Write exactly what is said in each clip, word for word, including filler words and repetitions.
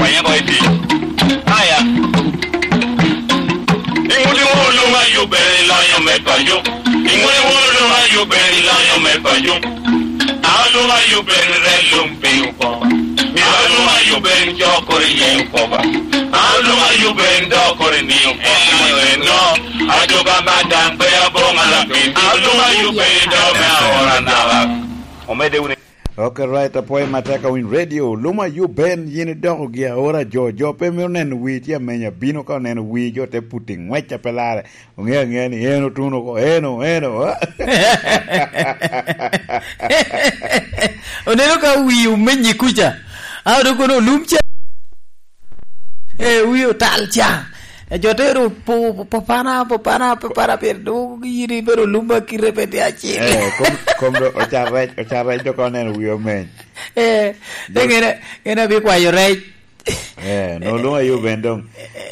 Anya boy pi. Aya. Iŋuti ŋo luma yubbe loyo me pajo. Iŋuti ŋo luma yubbe loyo me pajo. Aluma yubbe re lum pi upo. Mi aluma yubbe jokori ye upo ba. Aluma yubbe dokori ni upo. No. Ajo ba madam pe abonga la pi. Aluma yubbe do me ora na. Omede uni. Ok, right, apwoyo matek awiny radio. Luma you Ben, yin idoko gi aora jo, jo pe mito neno wii tye amenya bino ka oneno wii jo te puti ngwec a pe lare. Onge angeya ni eno tuno ko, eno, eno. Oneno ka wii omenyi kuca. A odoko no lum ca. Eh, wii otal ca. E jo te ru pu-, pu-, popana, popana, popana, pien dwogo gi yin ibedo lumba kite pe tye acel. Eh, kom, kom do, ocar rec, ocar rec dok oneno wii omeny. Eh, de ngene, ngene abi kwayo rec. Eh, no, luma yo ben dong.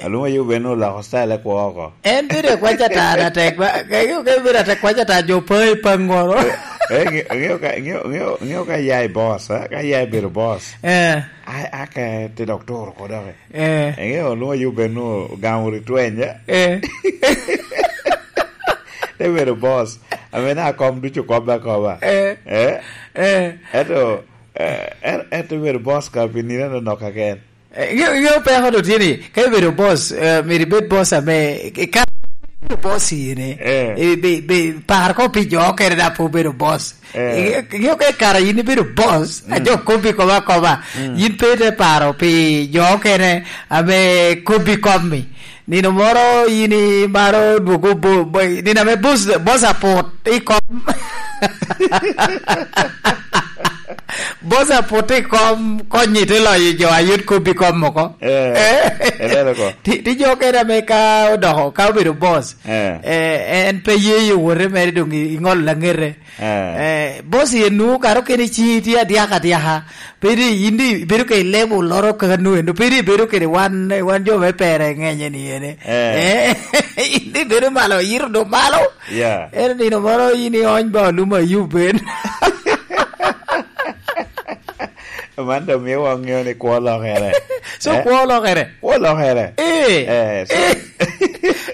Aluma yo ben oloko style kwo oko. En bedo e kwaca ta na tek ba, ke, ke bedo ata kwaca ta jo pa i pangoro. Eh, eh, nge-, ngeo ka, ngeo, ngeo, ngeo ka ya i boss, eh? Ka ya i bedo boss. Eh. A, a ke te dok turo ko doki. Eh. Ngeo luma yo ben ogamo ritwenya. Eh. Te bedo boss. Ame na kom ducu kobbe akoba. Eh. Eh? Eh. Eto, eh, en, en te bedo boss ka pi nino no nok aken. Eh, nge-, nge peko do tye ni, ka ibedo boss, eh, myero ibed boss ame, eh, ka ibedo boss ine, eh, eh, be, be, par ko pi jo okene da pe obedo boss. Eh. Nge-, nge ka i kare yin ibedo boss, mm, a jo kobbi koba koba, mm, yin pe ite paro pi jo okene ame kobbi kommi. Nino moro yin imaro dwogo bo-, bo-, nino ame boss, boss aput i kom. Boss aput i kom, konyi te loyo jo a yot kobbi kom oko. Eh, eh, elelo ko. Ti, ti jo kene ame ka odoko, ka obedo boss, eh, eh, en pe ye yo wote mere dong i, i ŋolo laŋete. Eh. Eh, boss ye nu karo kene ci tye adyaka adyaka. Pe di, yin di ibedo ka i level loro kaka nu eno. Pe di ibedo kede wan, wan jo me pere ŋenye ni ene. Eh. Eh, yin di ibedo malo, yito do malo. Yeah. Eno nino moro yin iony ba oluma Ayub ben. Man dong miyo wan ŋeo ni kwo olokere. So, eh? Kwo olokere? Kwo olokere. Eh. Eh, so eh.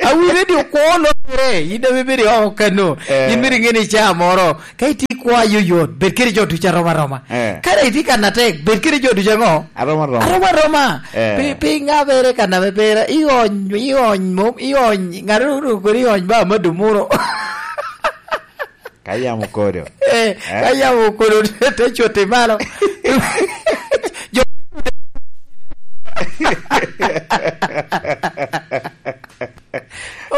Awinyo ni kwo olokere. Yin dong ibedo i oko kano. Eh. Yin bino iŋe ni ca moro. Ka itye i kwo ayoyot, bed kede jo ducu arom aroma. Eh. Ka dong itye kan atek, bed kede jo ducu aŋo? Arom aroma. Arom aroma. Eh. Pi, pi ŋabere kan ame pera, iony, iony mom, iony, ŋat onwoŋo kodi iony ba amado muro. Ka yamo kodo. Eh, eh? Ka yamo kodo, te, te cwoti malo. Jo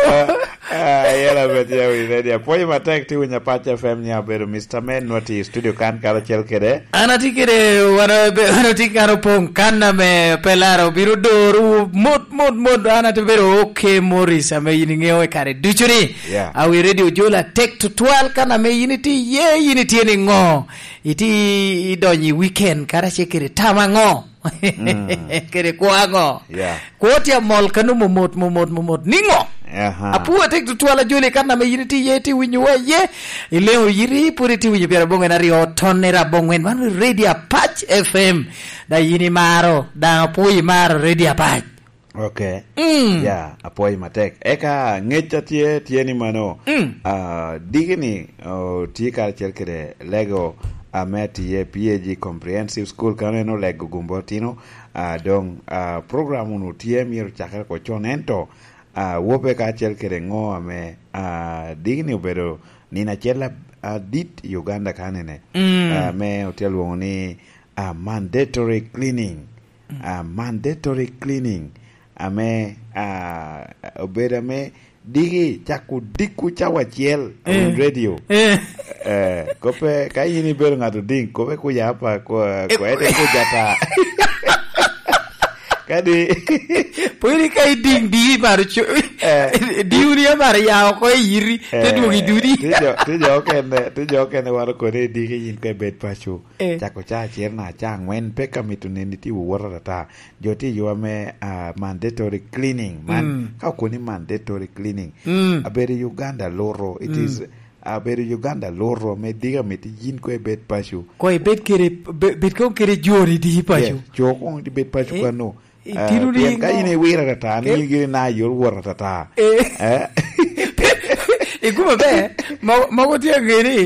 Ah, ah, yela bet ya wi ready. Apwoyo matek ti winyo Apac F M ni abedo Mister Men, nwa ti i studio kan karacel kede. An ati kede, wan abe-, wan ati kan opong kan ame pe laro biro doro mot, mot, mot. An ati bedo OK Morris ame yin iŋeo i kare ducu ni. Yeah. Awi ready ojol atek tutwal kan ame yin iti ye, yin itye ni ŋo? Iti idonyo i weekend karacel kede tam aŋo? Mm. Kede kwo aŋo? Yeah. Kwo tye amol kano momot, momot, momot. Niŋo? Aha. Apwoyo atek tutwal ajoli kan ame yin itye iye, itye winyo wa iye. Ileŋo yiri, pwod itye winyo pyerabongo en aryo, tonne rabongwen. Man Radio Apac F M. Da yin imaro, da apwoyo imaro Radio Apac. Ok. Mm. Ya, apwoyo matek. Eka ngec a tye, tye ni mano. Mm. Ah, diki ni, oh, tye karacel kede lego ame atiye P A G Comprehensive School, kano en olego gumbo tino. Ah, dong, ah, program unu tye myero cakere ko con, ento, ah, wope kacel kede ŋo ame, ah, diki ni obedo nino acel a-, adit i Uganda kanene. Mm. Ah, ame otye lwoŋo ni, ah, mandatory cleaning. Mm. Ah, mandatory cleaning. Ame, ah, obedo ame diki cako dikku cawa acel, eh, radio. Eh. Eh, kope, ka in ibedo ŋat oding, kope kuja apa, ko-, eh, kwede kuja ata. Kadi. Pwod ka iding diki maro cu-, eh, diwni amaro ya oko i yiri, te, eh, dwogo i dudi. Ti jo, ti jo okene, ti jo okene waro kone i diki yin ka ibed paco. Eh. Cako ca acel na ca angwen, pe ka mito neni ti wowota ata. Jo tye i yo ame, ah, mandatory cleaning. Man, mm, ka okoni mandatory cleaning, mm, abedo i Uganda loro. It, mm, is, abedo i Uganda loro, me diga miti yin ko ibed paco. Ko ibed kede, be-, bed kong kede joni di paco. Yes, jo kong ibed paco, eh, kano. Itino eh, ni pien ka ŋo? In iwiro atata, ni in giri na yor wot atata. Eh. Eh? Ikume be, mo-, mogo tye aŋe ni,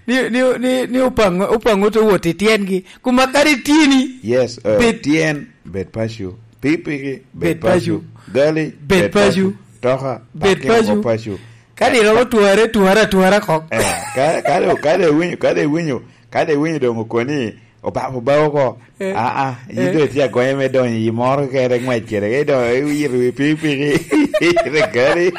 ni, ni, ni, ni opaŋo, opaŋo to wot i tyengi. Kuma kadi tini, yes, eh, bed tyen, bed paco. Pikipiki, bed bed paco. Paco. Gali, bed bed paco. Paco. Toka, bed paco. Paco. Kadi romo tware, tware, tware kok. Eh, ka, kadi, kadi winyo, kadi winyo, kadi winyo doŋ okoni, Oba-, oba oko. Eh. Aa, yin eh, doŋ itye agonye me donyo i moro kede ŋwec kede, ka idonyo iwiro i pikipiki, ite gari.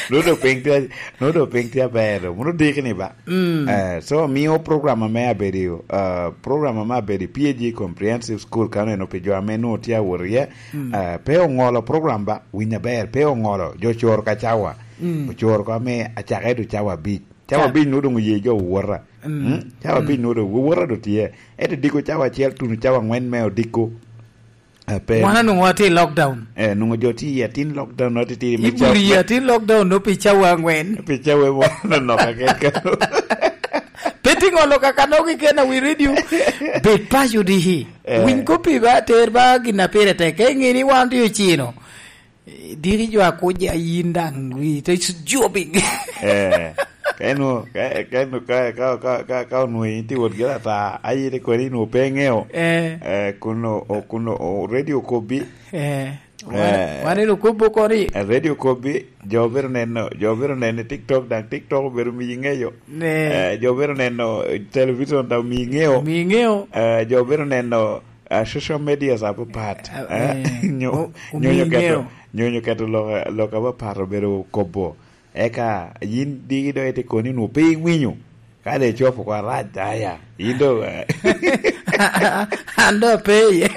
Nwoŋo doŋ piny tye, nwoŋo doŋ piny tye aber, mono diki ni ba. Mm. Eh, so, mio program ame abedo, eh, program ame abedo i P A G Comprehensive School kano eno pi jo ame nwoŋo tye awot iye, mm, eh, pe oŋolo program ba, winy aber, pe oŋolo, jo coro ka cawa. Mm. Ocoro ko ame acake do cawa abic. Cawa abic nwoŋo doŋ oye jo owota. Mm. Mm? Cawa abic nwoŋo doŋ owota doŋ tye. Ento diko cawa acel tuno cawa aŋwen me odiko. Eh, pe. Wan onwoŋo watye i lockdown. Eh, nwoŋo jo tye i atin lockdown, atitidi me cawa. Iburi i atin lockdown no pi cawa aŋwen. Pi cawa mo nonok akeka. Pe ti ŋolo kaka nok i kena wi radio. Bed paco dihi. Eh. Winy kop i ba, ter ba gin a pire tek. Ka iŋe ni wan tye ocino. Eh, diki jo a kuc a yin daŋ wi te s-, jobbing. Eh, ka inu-, ka, ka inu-, ka, ka, ka, ka, ka onwoŋo in tye wot gire ata, a yin ikwene inwoŋo pe iŋeo. Eh. Eh, kun o-, o-, kun o-, o-, radio kobbi. Eh, wan, eh, wan eno kobbo koni. Eh, radio kobbi, jo biro neno, jo biro neno i TikTok, daŋ TikTok obedo miyi ŋeyo. Ne. Eh, jo biro neno, eh, television daŋ omiyi ŋeo. Omiyi ŋeo. Eh, jo biro neno, ah, social medias apapat, ah, eh, eh, nyo-, o-, nyonyo omiyi keto, ŋeo. Nyonyo keto lok, lok apapat obedo kobo. Eka yin diki doŋ ite koni nwoŋo pe iwinyo. Ka doŋ icopo oko arac, aya, yin doŋ, eh. An doŋ ape iye.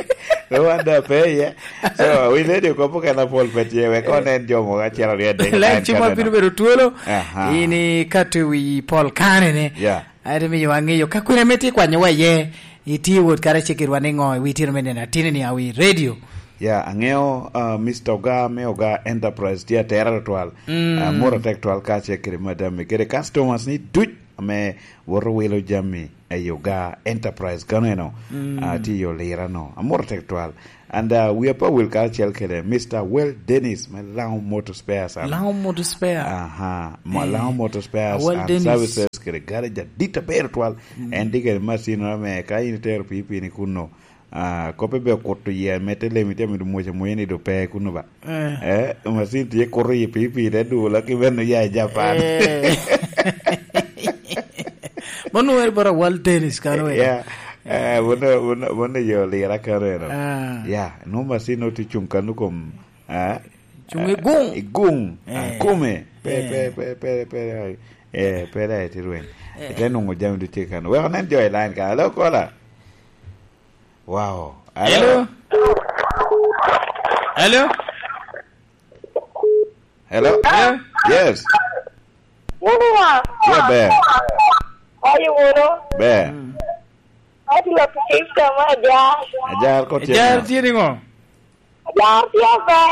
Doŋ an doŋ ape iye. So, wi lady okopo kena pol pe tye, wek onen jo mogo acel aryo adek. Line cimo bino bedo twolo. Aha. In ikato i wi pol kane ne. Yeah. Ate miyo aŋeyo ka kwene ame tye kwanyowa iye, itye wot karacel kedwa niŋo i wi tino me neno atini ni awi radio? Ya, aŋeo, ah, Mister Oga me Oga Enterprise tye atera tutwal. Mm. Ah, amor atek tutwal kacel kede madam-mi kede customers ni duc ame woto wilo jami i Oga Enterprise kano eno, mm, ah, tye i Olira no. Amor atek tutwal. And, uh, wia pe awil karacel kede Mister Well Dennis me Laŋo Motor Spares and Laŋo Motor Spare. Aha, ma eh, Laŋo Motor Spares Well and Dennis. Services kede garage adit aber twal. Mm. En tye kede macin ame ka in itero pikipiki ni kunno, ah, kop ibe okuto yie me te lemi te mido mwoc amwonya ni do pe kunno ba. Eh. Eh, macin tye kuto yie pikipiki te dula ki bene ya i Japan. Eh. Mano wer bara Well Dennis kano wer. Yeah. Eh, mano, mano, mano yo lira kano eno. Ah. Ya, no macin no tye cung kano kom, ah, cung i gung. I gung. Ah, eh, kume. Pe, eh, pe, pe, pe, pe, eh, pe da eti rweny. Eh. Ite nungo jami ducu tye kano. Wek onen jo i line ka. Hello, caller. Wow. Hello? Hello? Hello? Hello? Hello? Yes. Wunu wa? Yeah, ber. Ayi wunu? Ber. Mm. Ati lok Kristo ma ajar. Ajar ko tye. Ajar tye niŋo? Ajar tye ber.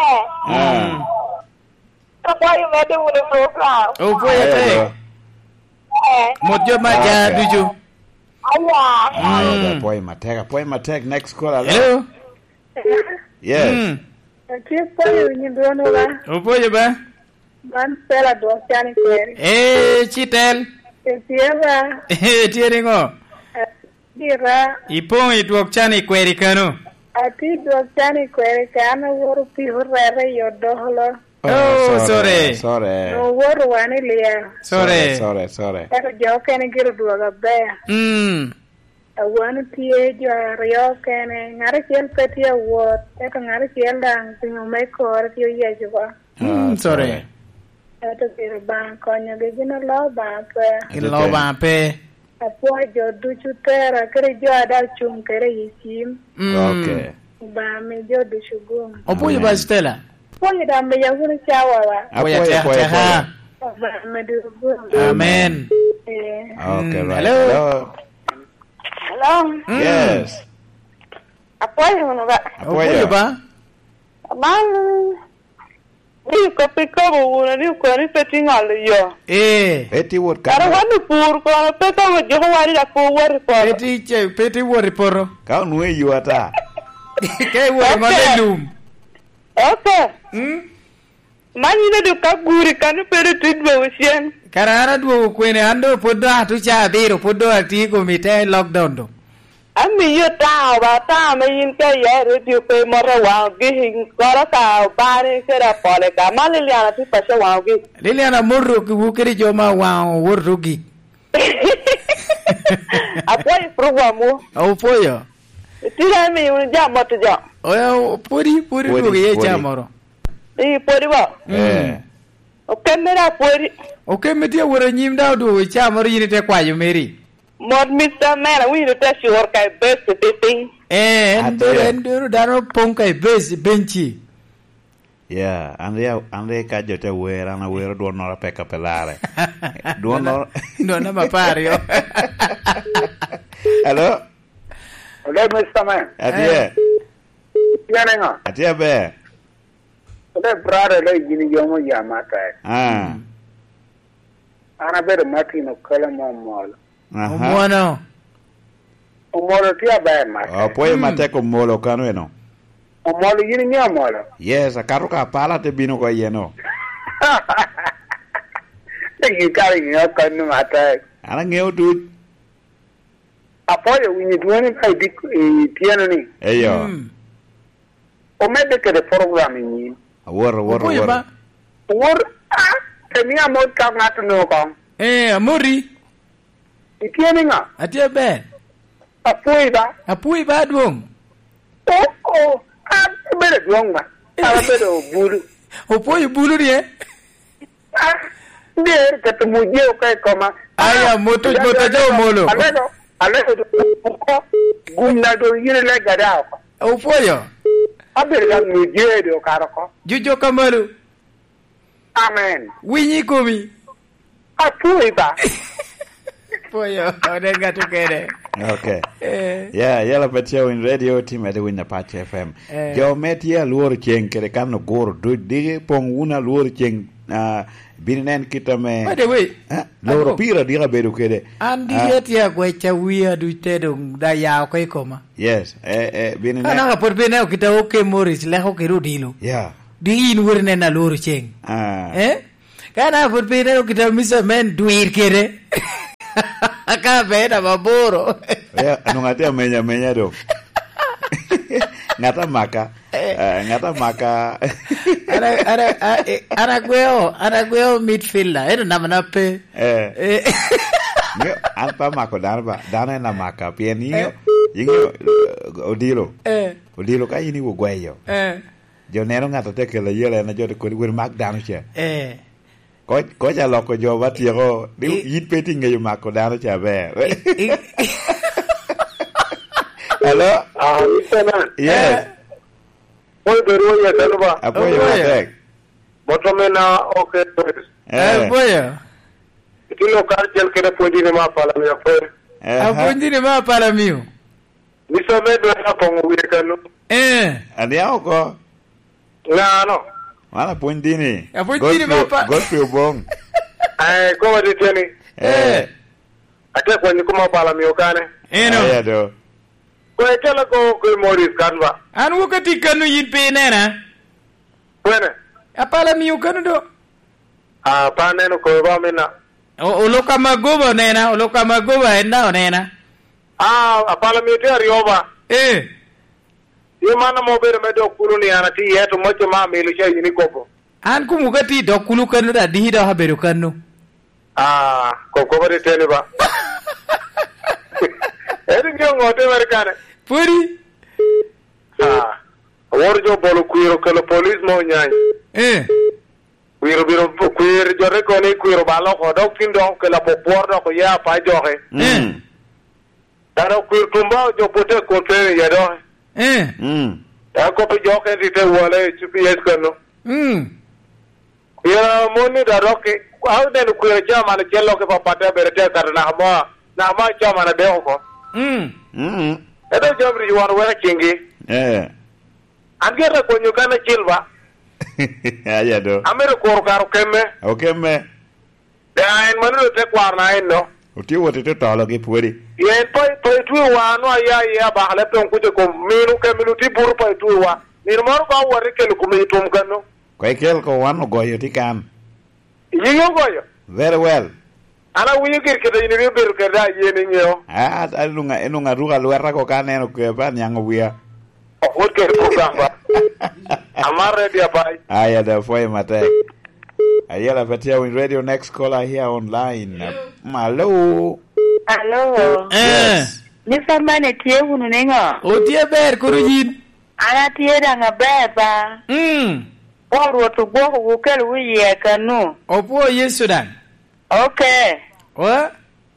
Ah. Mm. Apwoyo medde wunu program. Opwoyo atek. Ayo. Eh. Mot jo ma ajar ducu. Aya. Aya, mm, apwoyo matek, apwoyo matek. Next caller, hello? Hello? Yes. Mm. Atye pwoyo winyo dwonwu ba. Opwoyo ba? Man Stella dwok can i kweri. Eh, Citel. Itye ba? Eh, tye niŋo? Dira. Ipoŋ i dwok can i kweri kano? Atye i dwok can i kweri ka an awoto piko rete i Odokolo. Oh, oh, sorry, sorry, sorry. Owoto wan i Lya. Sorry. Sorry, sorry, sorry. Ento jo okene gire odwogo aber. Mm. A wan otye jo aryo okene, ngat acel pe tye awot, ento ngat acel daŋ pingo me kore tye oyeco oko. Mm, ah, sorry. Ento gire Obaŋa konyogi, gin oloo Obaŋa pe. Gin oloo Obaŋa pe. Apwoyo jo ducu tera, kede jo a daŋ ocuŋ kede i cim. Mm. Ok. Obaŋa mi jo ducu gum. Opwoyo ba, amen, Stella. Apwoyo daŋ miya wunu cawa wa. Apwoyo, apwoyo, atek, apwoyo, atek, apwoyo. Obaŋa mi ducu gum. Amen. Eh. Ok, mm, right. Hello? Hello? Hello? Mm. Yes. Apwoyo wunu ba. Apwoyo. Apwoyo ba. Man, ni kop ikobo wunu ni okoni pe tye ŋolo yo. Eh. Pe tye wot kara kano. Wan opur kono, pe ka wot joko wari dok pe wot i poto. Pe tye ce-, pe tye wot i poto. Ka onwoŋo i yo ata. Ka iwot i ŋolo i lum. Ok. Mm? Man yin odok ka guri kan obedo tye dwogo cen. Kara an adwogo kwene, an doŋ pwod doŋ atu ca abiro, pwod doŋ atye i kom i te lockdown doŋ. Amiyo taŋo ba, taŋo ame yin ka iya i redio pe imoto waŋo gik, koro ka Obani kede Apole ka. Man Liliana tye paco waŋo gik. Liliana moto ki wu kede jo ma waŋo woto gik. Apwoyo program wu. Opwoyo. Itira imi wun ja moto jo. Oya, pwodi, pwodi Pwodi, dwogo iye pwodi. Ca moro. Ii, pwodi bo. Mm. Eh. Okemme da pwodi. Okemme tye awot anyim da odwogo ca moro yin ite kwayo meri. Mot Mister Man, awinyo te cur ka i base i piny. Eh, en Atir. Dero, en dero dano pong ka i base, benci. Yeah, an ria-, an ria ka jo te wer, an awero dwonnoro peka pe larre. Dwonnoro Dwonna ma par yo. Hello? Hello, Mister Man. Atye. Eh. Itye niŋo? Atye aber. Hello, brother, hello, yin yomo yam atek. Ah. Mm. An abedo Martin Okelo mo mol. Aha. Omwono. Omolo tye aber, Mark. Apwoyo Mm. matek Omolo kano eno. Omolo, yin iŋeo Omolo? Yes, akato ka pala te bino oko iyeno. Yin kara iŋeo kano matek. An aŋeo duc. Apwoyo winyo dwoni ka i dik-, i tyeno ni. Eyo. Mm. Omedde kede program i nyim. Awor, awor, Opoyo awor. Ba. Wor, ah, te mia mot ka ŋat onwoŋo koŋ. Eh, amoti. Itye niŋo? Atye ber. Apwoyi ba. Apwoyi ba adwoŋ. Oh, oh, an abedo adwoŋ ba. An abedo bulu. Opwoyo bulu ni, eh? Ah, der keto muje oko i koma. Aya, Ah, moto, ya, moto ya, jo ya, Omolo. Alego, alego, oko, gum na do yiri lega da oko. Opwoyo. Abedo ka muje do karo oko. Jujo kamalu. Amen. Winyi i komi. Apwoyi ba. Pwoyo, ode gato kede. Okay. Eh. Yeah, Yellow Pet Show in radio, team Edwin Apache F M. Eh. Jo me tye alworo ceng kede kan oguro duc, diki poŋ wun alworo ceng, ah, bino nen kit ame, By the way, eh, loro Adwong. Pira dika bedo kede. An diki Ah. atye agweca wia duc te dong da ya oko i koma. Yes, eh, eh, bino Ka nen. Naka pwod pe ineno kit a oke Morris leko kede odilo. Yeah. Diki in wot ineno alworo ceng. Ah. Eh? Ka na pwod pe ineno kit a Mister Man dwir kede. Ka be namba aboro. Ya, nung atye amenya, amenya do. Ngata maka. Eh. Eh, ngata maka. Ana, ana, a, eh, ana gweo, ana gweo midfielder. Eno namba na pe. Eh. Eh. Nge, an pa mako dano ba, dano en amaka. Pien inge, Eh. inge, eh, odilo. Eh. Odilo ka in iwo gweyo. Eh. Jo neno ŋat a tye kelo ayela, en a jo kodi, "Weri mak dano ca." Eh. Koc, koc aloko jo ba tyeko, ni I- yin pe itye ŋeyo mako dano ca ber. I- i- Hello? Ah, Mister Man. Yes. Eh. Moy bedo wa yata no ba. Apwoyo Apwoyo. matek. Moto me na, okay. Eh. Eh, apwoyo. Itino kar cel kede pwonjini ma pala mi apwoyo. Eh, ha. Apwonjini ma pala miyo. Mister Medway apoŋo wiye kano. Eh. Aniaŋ oko. Ŋano? Wan apwony dini. Apwony dini Godfrey, ma pa- Godfrey Obong. Eh, kowa tye ni. Eh. Eh. Ate kwanyo kuma pala mio kane. Eno. Aya do. Ko ekela ko ko Morris kan ba. An wuka ti kano yin pe nena. Kwene? Apala mio kano do. Ah, pa neno ko ba mina. O-, oloka magoba onena, oloka magoba en da onena. Ah, apala mio tye aryo ba. Eh. Ye man amo obedo me dok kulu ni an atye iye, to moc ma amilo ca yin ikobo. An kumu ka tye i dok kulu kano da, diki dok abedo kano. Ah, koko ba tye teni ba. Eri nyo ŋo te meri kane? Pwodi? Ah, awor jo bolo kwir okelo polis mo nyany. Eh. Kwir obino, kwir jo te koni kwir obalo oko, dok tin dok okelo apopwor dok oye apa joke. Mm. Dano kwir tumba ojopo te kote iye doki. Eh. Mm. Dok kop i joke ni te wale i C P S kano. Mm. Kwir amon ni dok dok ki, a oneno kwir acel man acel lok i papatte abere te kato naka mo, naka mo acel man adek oko. Mm. Mm. Ento jami ric wan weko i cingi. Eh. An gin akonyo kan acel ba. Aya do. Amito kuro karo kemme. Okemme. Da en manino te kwaro na en no. Otye wot i te tolo gi pwodi. Pien pa, pa itwe wa, nwa ya, ya, bakale pe onkuc i kom minu, ke minu ti buru pa itwe wa. Minu moro ka owot i kelo kome i tum kano. Kwa ikel ko wan ogoyo ti kan. Iyinge ogoyo? Very well. An awinyo gir kede yin ibino bedo kede a yen iŋeo. Ah, ah, nunga, nunga ruka lweta ko ka aneno kwe pa niaŋ owia. Owot kede program ba. Amar ready apai. Aya da fwe matek. Ayela pa tia win radio next caller here online. Malo. Alo. Eh. Yes. Ni famane tye wunu niŋo? Otye ber kuru yin. An atye daŋ aber ba. Mm. Won Rwot ogwoko wu kelo wu iye kanu. Opwo Yesu daŋ. Ok. Wa?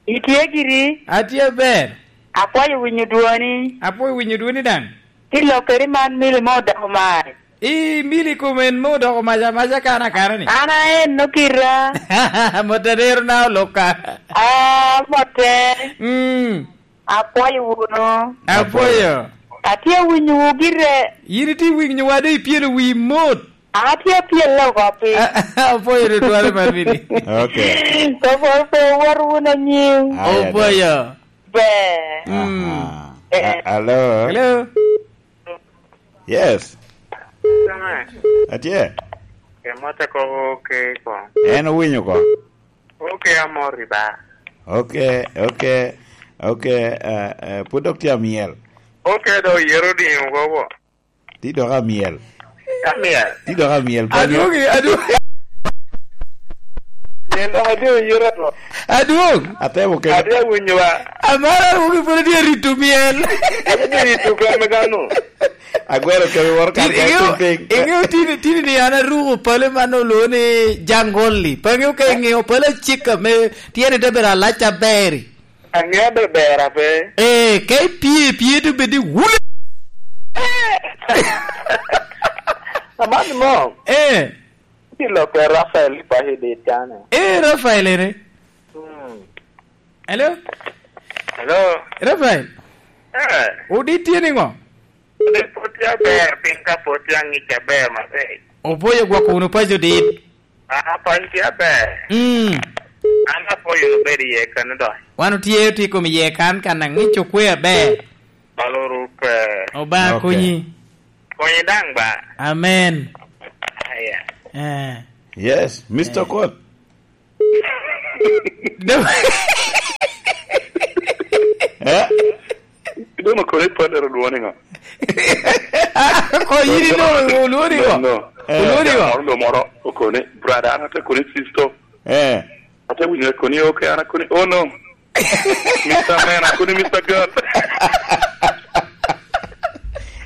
Itye giri? Atye ber. Akwayo winyo dwoni. Apwoyo winyo dwoni daŋ. Ti lokeri man mili mo odoko mar. I mili kom en mo odoko maca maca kana kana ni. An aen no kira. Mote dero na oloka. Ah, mote. Mm. Apwoyo wunu. Apwoyo. Atye winyo wu gire. Yin itye winyo wa do ipielo wi mot. Atye pyel oko piny. Apwoyo tutwale man mini. Okay. Kopol pe wot wun anyim. Aya, Opwoyo. Be. Mm. Aha. Eh. A-, hello? Hello? Yes. Sama. Atye. Emote ko ke ko. En owinyo ko. Okay, amor i ba. Okay, okay, okay, eh, eh, pwod dok tye amyel. Okay, do yero di ŋo bo? Ti dok amyel. Amyel. Ti dok amyel. Adwogi, adwogi. Yen dok adwogi yero to. Adwog. Atemo kelo. Adwogi winyo ba. Amara wugi pwod tye rito myel. Adwogi rito keme gano. Agwero kemi woro kan ka iŋeo, ting ting. Iŋeo tini, tini ni an aruko pale man oloo ni jangolli. Pe aŋeo ka iŋeo pale acika me tyene te bedo alac aber-ri. Aŋeo be ber ape. Eh, ka ipye, ipye to bed i wule. Aman mo. Eh. Ti lokke Rafael i paco dit kane. Eh, Rafael ene. Hmm. Hello? Hello? Rafael? Eh. Odi tye niŋo? Odi pwod tye aber, piny ka pwod tye aŋic aber maber. Opwoyo gwoko wunu paco dit. Aa, paco tye aber. Mm. An apwoyo wunu bedo iye kano doŋ. Wan otye, otye i kom iye kan, kan aŋic okwe aber. Balo rupe. Obaŋa konyi. Konyi daŋ ba. Amen. Aya. Eh. Yes, Mister Kot. Eh? Doŋ okone i Padero lwoni ŋo? Ko yin ino olwoni ŋo? No, no. Eh. Olwoni ŋo? Moro lo moro okone, brother, an ate koni sister. Eh. Ate winyo koni, okay, an akoni, oh no. Mister Man, akoni Mister God.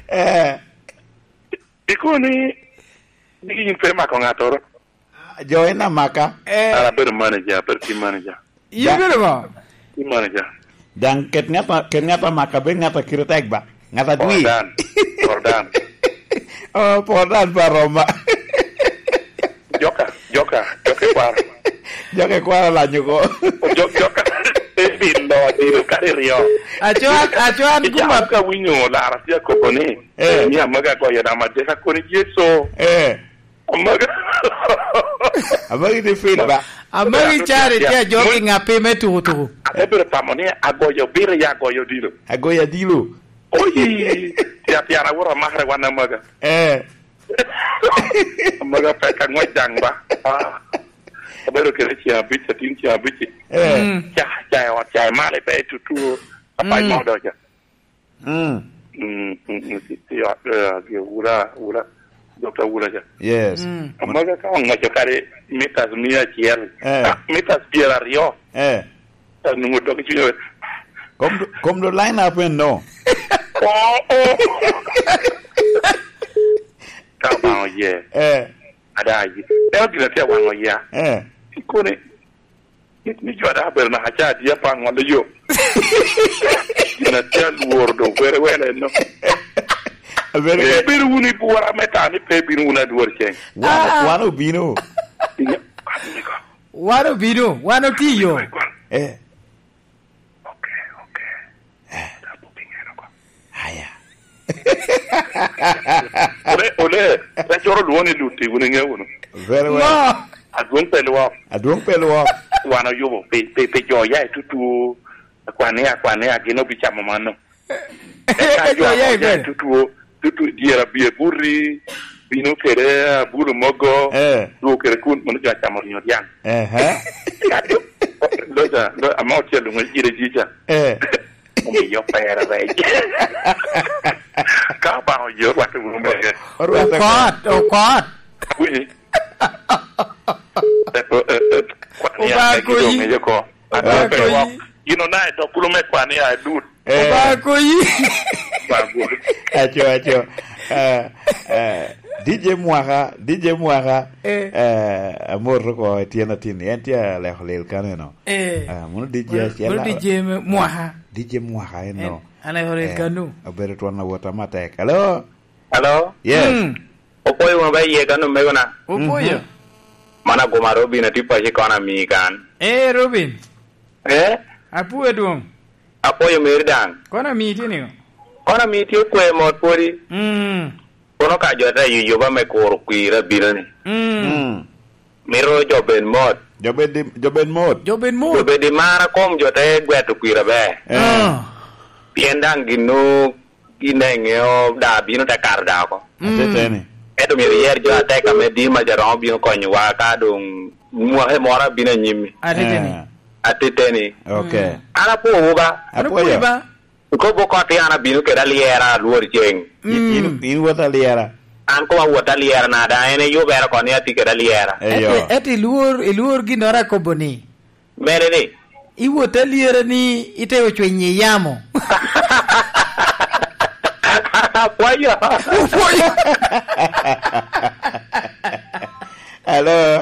Eh. Ikoni, ni yin pe mako ŋattoro. Jo en amaka. Eh. An abedo manager, abedo team manager. Yin bedo ŋo? Team manager. Daŋ ket ŋat a, ket ŋat amaka, bed ŋat a kite tek ba. Ŋat a dwi. Jordan. Jordan. Oh, Jordan pa Roma. Joka, joka, joka kwaro. Joka kwaro lanyo ko. Jok, joka. Ebin lo adiro kare ryo. Aco, aco an guma. Ijam ka winyo lara tye akobo ni. Eh. Ni amaga goyo dama deka koni Yesu. Eh. Amaga. Amagi tye fin ba. Amagi cari tye ajoki ŋapi me tuku tuku. Ate bedo tamo ni agoyo biro ya agoyo dilo. Agoyo adilo. Oyi. Tya tyara wuro amakre wan amaga. Eh. Amaga pek angwec daŋ ba. Ah. Abedo kede ceng abic, atin ceng abic. Eh. Mm. Ca, ca i ot, ca i malo pe tutu. Apac mo doca. Mm. Mm, mm, mm, ti, ti, ah, eh, ah, Wula, Wula, Dokta Wula ca. Yes. Mm. Amaga ka oŋoco kadi mitas mia acel. Eh. Ah, mitas pyeraryo. Eh. Anwoŋo dok i cunye. Kom do, kom do line up en no. Oh, oh. Ka Obaŋa oye. Eh. Ada aye. Eno gin atye awaŋo ya. Eh. Ikone, ni, ni jo ada abedo naka ca adi apa ŋolo yo. Gin atye alworo do were were no. Abedo pe bino wunu i bwora me ta ni pe bino wunu adwor ceng. Wan, ah, wan obino. Inyo, wan obino. Wan obino, wan otiyo. Eh. Ok, ok. Eh. Tabu pingero ko. Aya. Ole, ole, ta choro luoni luti, wun inge wunu. Very well. No. Adwong pe lwok. Adwong pe lwok. Wan oyubo, pe, pe, pe jo ya i tutu. Akwan ni, akwan ni, agin obicamo mano. Eka jo amo oya i tutuo, tutu dyere abye buti, bino kede abulo mogo, eh, tuo kede kun, mono jo acamo rinyo dyang. Ehe. Eka jo, loja, lo-, ama ocel luŋo ire jica. Eh. Omiyo pera rec. Ka Obaŋa oye, orwatte wunu mogo. Orwatte okot, okot. Awinyi? Eh, eh, eh, eh, kwan ya, Obaŋa egi konyi. Dong ŋeyo ko. Obaŋa konyi. Gin ona i dog kulu me kwan ya, adut. Eh. Obaŋa konyi. Obaŋa konyi. Aco, aco. Eh, eh, D J Mwaka, D J Mwaka. Eh. Eh, amor oko i tyen atin. En tye aleko lel kaneno. Eh. Eh, mono D J mono, acel mono a-, D J me Mwaka. D J Mwaka en no. En, aleko lel kanu. Eh, obedo twon awot amatek. Hello? Hello? Yes. Mm. Opwoyo wunu ba iye kan omegona. Opwoyo. Mhm. Mano aguma Robin atye paco i kona amiyi kan. Eh, Robin. Eh? Apwoyo dwong. Apwoyo meri daŋ. Kona amiyi tye niŋo? Kona amiyi tye kwe mot pwodi. Mm. Kono ka jo te yuyoba me kuro kwir abino ni. Mm. Mm. Mito jo bed mot. Jo bed i, jo bed mot. Jo bed mot. Jo bed i mara kom jo te gweto kwir aber. Eh. Ah. Pien daŋ gin nwoŋo gin daŋ iŋeo, daa bino te kato daa oko. Mm. Ateteni. Ento myero iyer jo atek ame dima ca romo bino konyowa ka doŋ mwaka moro abino anyim-mi. Ateteni. Eh. Ateteni. Ok. Mm. An apwowu ba. An apwoyo. Apwoyi ba. Ikobo koti an abino kede alyera alwor ceng. In, in, mm, in wot alyera. An koma wot alyera na da, en eyubere oko ni atye kede alyera. Eyo. Ento, ento ilwor, ilwor ginnoro akobo ni. Mene ni? Iwot alyera ni ite ocwenyo i yamo. Apwoyo. Apwoyo. Hello.